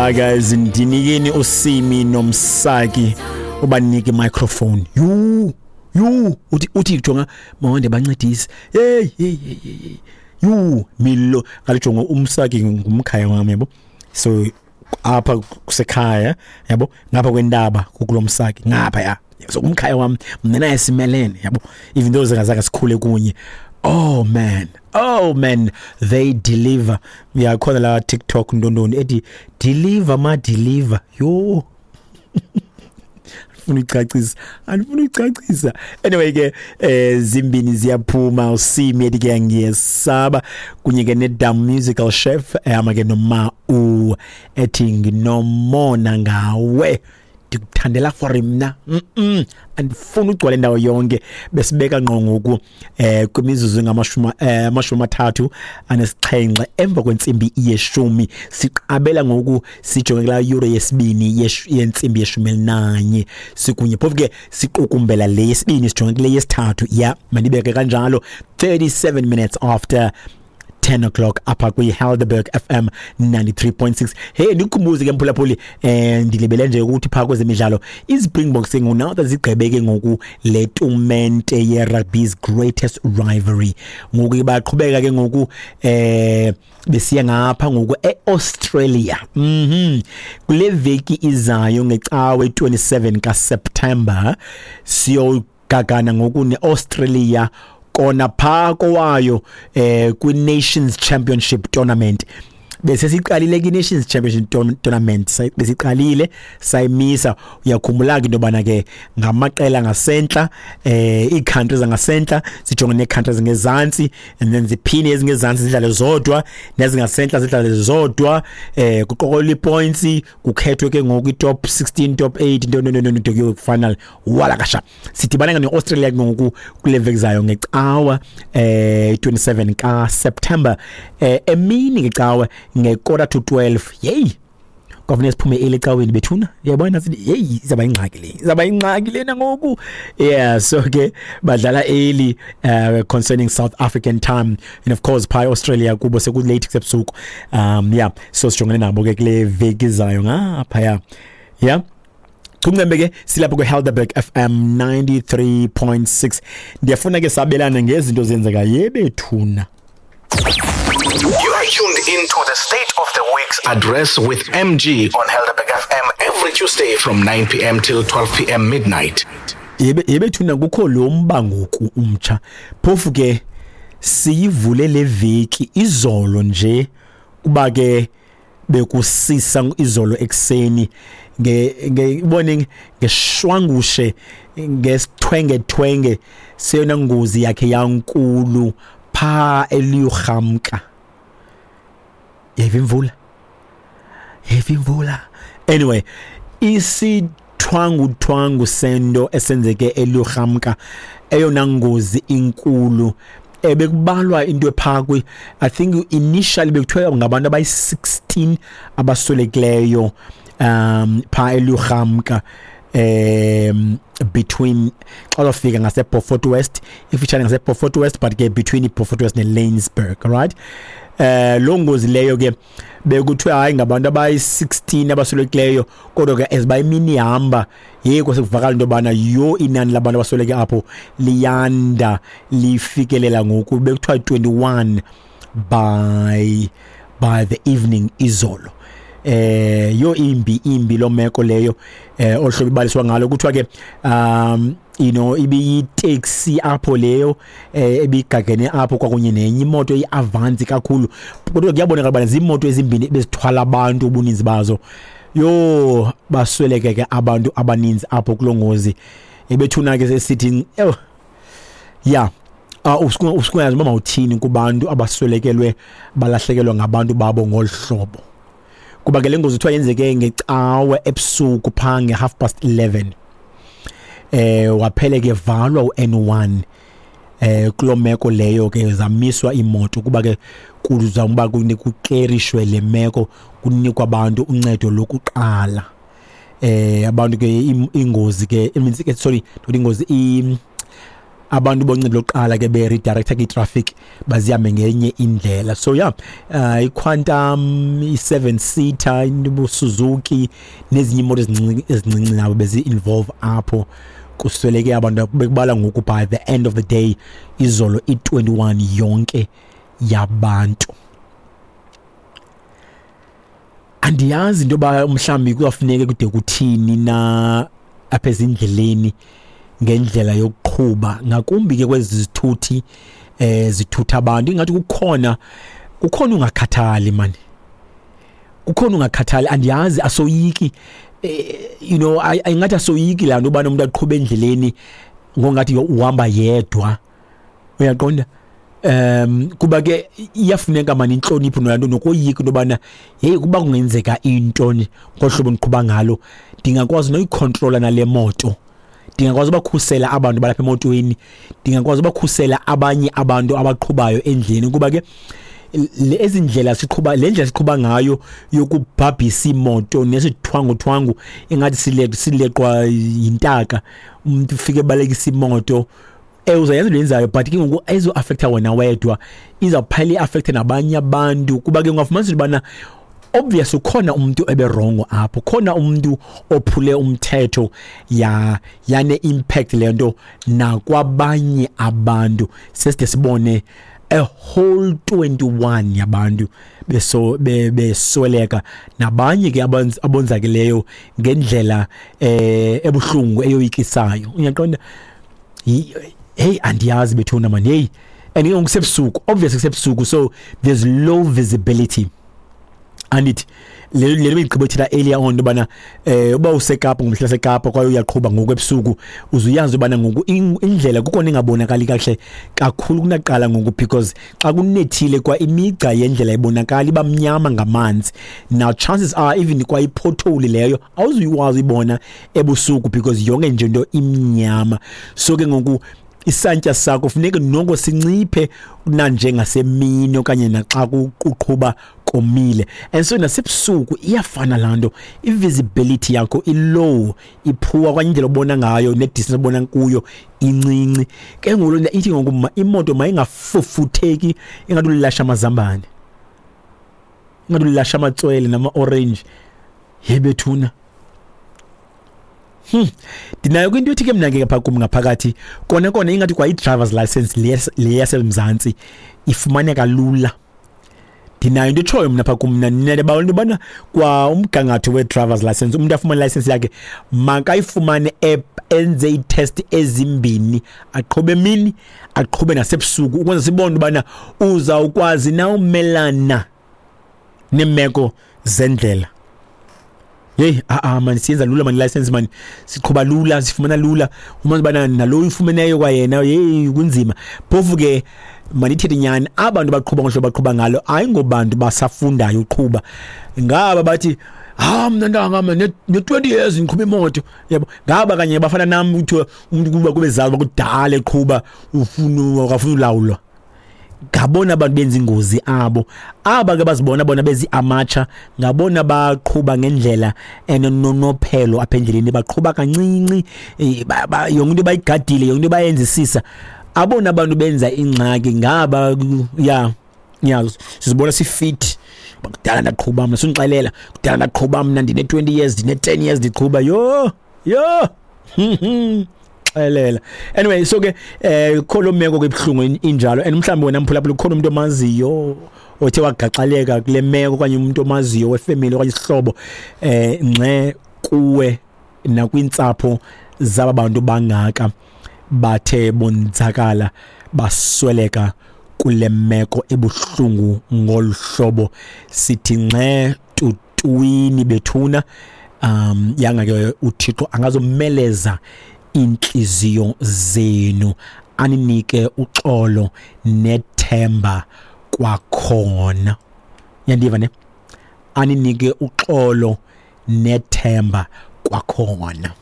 Hi guys, ndinikeni uSimi noMsaki ubanike microphone. Yhu, yhu, uthi jonga mawande bancedise. Hey, hey, hey, hey. Yhu, Milo, kalijonga uMsaki ngumkhaya wami yabo. So apha kusekhaya yabo, ngapha kwentaba kukulomsaki ngapha ya. So umkhaya wami mna naye simelene yabo, even though singazange sikhule kunye. Oh man, oh man, they deliver. Uyakhona la TikTok ntontoni ethi deliver ma deliver. Yho, andifuna uyicacisa, andifuna uyicacisa. Anyway ke zimbini ziyaphuma, uSimi ethi ke ngiyesaba kunye ke neDam Musical Chef ehamba ke noma u ethi nginomona ngawe, ndikuthandela for mna. Andifuni ugcwale indawo yonke. Besibeka ngqo ngoku kwimizuzu ngamashumi 37 emva kwentsimbi yeshumi. Siqabela ngoku sijonge kula yure yesibini yentsimbi yeshumi elinanye sikunye, phofu ke siqukumbela le yesibini sijonge kule yesithathu. Ya, mandibeke kanjalo, 37 minutes after 10 o'clock apha kwi-Helderberg FM 93.6. Hey, ndikukhumbuze ke mphulaphuli, ndilibele nje ukuthi phaa kwezemidlalo iSpringboks ke ngoku now zigqibeke ke ngoku le tumente ye-rugby's greatest rivalry. Ngoku baqhubeka ke ngoku besiya ngapha ngoku e-Australia. Kule veki izayo ngecawe 27 kaSeptember siyogagana ngoku ne-Australia kona phaa kowayo kwi-Nations Championship Tournament. Bese siqalile ke Nations Championship Tournament, besiqalile sayimisa. Uyakhumbula ke into yobana ke ngamaqela ngasentla, ii-countries zangasentla sijonge nee-countries ngezantsi, and then ziphinde ezingezantsi zidlale zodwa nezingasentla zidlale zodwa, kuqokelelwa ii-points, kukhethwe ke ngoku i-top 16, top 8, nto nto nto nto kuyo final. Wala kasha sidibana ke ne-Australia ke ngoku kule veki zayo ngecawa 27 kaSeptember, emini ngecawe nge-11:45. Yeyi, kwafuneka siphume early ecaweni bethuna, uyabona sithi yeyi izawuba yingxaki le, izawuba yingxaki lena ngoku. Yeah, so ke badlala early concerning South African time, and of course phaa Australia kubo sekulate kusebusuku. Yeah, so sijongene nabo ke kule veki izayo ngaphaya. Yeah, Chumcembe ke silapho kwi-Helderberg FM 93.6. Ndiyafuna ke sabelane ngezinto zenzeka yebethuna. You are tuned into the State of the Week's Address with MG on Helderberg FM every Tuesday from 9 p.m. till 12 p.m. midnight. Yebethuna kukho lo mba ngoku umtsha. Phofu ke siyivule le veki izolo nje kuba ke bekusisa izolo ekuseni nge ngeshwangushe ngesithwenge-thwenge seyona ngozi yakhe yankulu pha eliyurhamka. Yeva imvula, yeva imvula. Anyway, isithwanguthwangu sento esenzeke eliyurhamka, eyona ngozi inkulu ebekubalwa into ephaa kwi, I think initially bekuthiwa ngabantu abayi-16 abaswelekileyo phaa eluyurhamka, between xa uzofika ngase-Beaufort West, ifutshane ngase-Beaufort West, but ke between i-Beaufort West ne-Laingsburg, right? Loo ngozi leyo ke bekuthiwa hayi ngabantu abayi-16 abaswelekileyo, kodwa ke as bayimini ihamba yeyi kwasekuvakala into yobana yho inani labantu abasweleke apho liyanda lifikelela ngoku bekuthiwa 21 by the evening izolo. Yo imbi lo meko leyo, ohlobo ibaliswa ngalo kuthiwa ke you know ibiyitaxi apho leyo ebigagene apho kwakunye nenye imoto iAvanzi kakhulu, kodwa kuyabonakala uba ziimoto ezimbini ebezithwala abantu ubuninzi bazo. Yo basweleke ke abantu abaninzi apho kuloo ngozi. Ebethuna ke sesithi yeah, usukungayazi uba mawuthini kubantu abaswelekelwe balahlekelwa ngabantu babo ngolu hlobo, kuba ke le ngozi kuthiwa yenzeke ngecawe ebusuku phaa nge-11:30. Waphele ke valwa u-N1 kuloo meko leyo ke zamiswa iimoto kuba ke kuzama uba kuklerishwe le meko, kunikwa abantu uncedo lokuqala. Abantu ke ingozi ke, sorry, not ingozi, Abantu boncedo lokuqala ke be-redirecta kwi-traffic bazihambe ngenye indlela. So yeah, i-Quantum, i-7 seater, Suzuki nezinye imoto ezincinci nabo bezi-involve apho. Kusweleke abantu bekubala ngoku by the end of the day izolo i-21 yonke yabantu. Andiyazi into yoba mhlawumbi kuyafuneka kude kuthini na apha ezindleleni ngendlela yokuqhuba, ngakumbi ke kwezi zithuthi zithutha abantu. Ingathi kukhona ungakhathali mani, kukhona ungakhathali. Andiyazi, asoyiki, you know, ayingathi asoyiki laa nto ubana umntu aqhube endleleni ngongathi uhamba yedwa, uyaqonda? Kuba ke iyafuneka mani intlonipho nolaa nto, nokoyika into yobana heyi, kuba kungenzeka into ngohlobo ndiqhuba ngalo ndingakwazi noyikhontrola nale moto, ndingakwazi ubakhusela abantu balapha emotweni, ndingakwazi ubakhusela abanye abantu abaqhubayo endleleni. Kuba ke ezi ndlela siqhuba, le ndlela siqhuba ngayo yokubhabhisa imoto nesithwanguthwangu ingathi sileqwa yintaka, umuntu ufike ebalekisa imoto, uzayenza into yenzayo, but ke ngoku ayizo-affecta wena wedwa, izawuphela i-affecte nabanye abantu. Kuba ke ungafumanisa into yobana obvious ukhona umuntu eberongo apho, khona umuntu ophule umthetho, yane impact le nto nakwabanye abantu. Seside sibone a whole 21 yabantu besweleka, nabanye ke abonzakeleyo ngendlela ebuhlungu eyoyikisayo. Uyaqonda? Hey, andiyazi bethuna man, hey. And ke kusebusuku, obviously kusebusuku, so there's low visibility. Andithi le bigqibethela earlier on ubana uba useKapa ngomhla seKapa kwaye uyaqhuba ngoku ebusuku, uzuyazi ubana ngoku indlela kukona ingabonakali kahle kakhulu kunaqala ngoku, because xa kunethile kwa imigca yendlela ibonakala iba mnyama ngamanzi. Now chances are even kwa ipothole leyo awuzuyikwazi uyibona ebusuku because yonke nje into imnyama. So ke ngoku isantya sakho funeka noko sinciphe kunanjengasemini okanye naxa kuqhuba komile. And so nasebusuku iyafana laa nto, i-visibility yakho i-low, iphuwa, okanye indlela obona ngayo ne-distance obona kuyo incinci. Ke ngoku loo nto ithi ngoku imoto mayingafufutheki ingathi ulilasha amazambane, ingathi ulilasha amatswele nama-orange. Yebethuna. Ndinayo kwinto ethi ke mna ke phaa kum ngaphakathi kona kona ingathi kwa i-driver's license le yaseMzantsi ifumaneka lula. Ndinayo into etshoyo mna phaa kum mna, ndinalebawela into yobana kwa umgangatho we-driver's license, umntu afumane license yakhe makayifumane enze iitest ezimbini, aqhube emini aqhube nasebusuku, ukwenza sibone ubana uzawukwazi na umelana neemeko zendlela. Hey, man, siyenza lula man license man, siqhuba lula, sifumana lula, umazi bana nalo uyifumeneyo kwayena, hey, kunzima. Phofu ke mandithethe nyani, abantu baqhuba ngohlobo baqhuba ngalo ayingobantu basafundayo uqhuba. Ngaba bathi mna ntanga mna ne-20 years ngiqhuba imoto, yabo. Ngaba kanye bafana nami, kuthiwa umuntu kuba kube zazi bakudala eqhuba, ufuna akafuna ulawulwa. Ngabona abantu benza ingozi abo. Aba ke bazibona bona bezi amatsha, ngabona baqhuba ngendlela enononophelo apha endleleni, baqhuba kancinci, yonke into bayigadile, yonke into bayenzisisa. Abona abantu benza ingxaki ngaba, ya sizibona sifit. Kudala ndaqhuba mna, sundixelela kudala ndaqhuba mna, ndine 20 years, ndine 10 years ndiqhuba. Yho yho, xelela. Anyway, so ke kho meko ke ibhlungu injalo. And mhlawumbi wena mphulaphula ukhona umuntu omaziyo othe wagaxaleka kule meko, okanye umuntu omaziyo wefamily okanye isihlobo, ngxe kuwe nakwintsapho zaba bantu bangaka bathe bonzakala basweleka kule meko ebuhlungu ngolu hlobo. Sithi ngxe tutwini bethuna. Yanga ke uThixo angazomeleza inhliziyo zenu, aninike uxolo nethemba kwakhona. Uyandiva ne? Aninike uxolo nethemba kwakhona.